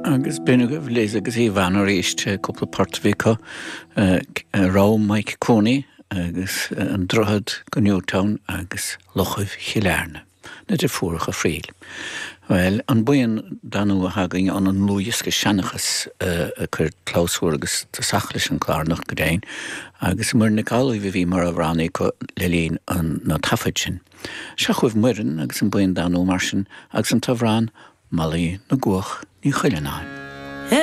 Agus b'in agaibh Liz agus Ivan arís, cúpla port a bhí acu, Raibh Mike Cooney agus An Droichead go Newtown agus Lochaibh Chill Airne, na deirfiúracha Friel. Bhuel, an buíon Danú atá againn an an ndlúthdhiosca Seanchas a chuir clabhsúr agus tosach leis an chlár anocht go deimhin, agus Muireann Nic Amhlaoibh a bhí mar amhránaí acu le linn na taifead sin. Seo chugaibh Muireann agus an buíon Danú mar sin agus an t-amhrán Molly na gCuach Ní Chuilleanáin.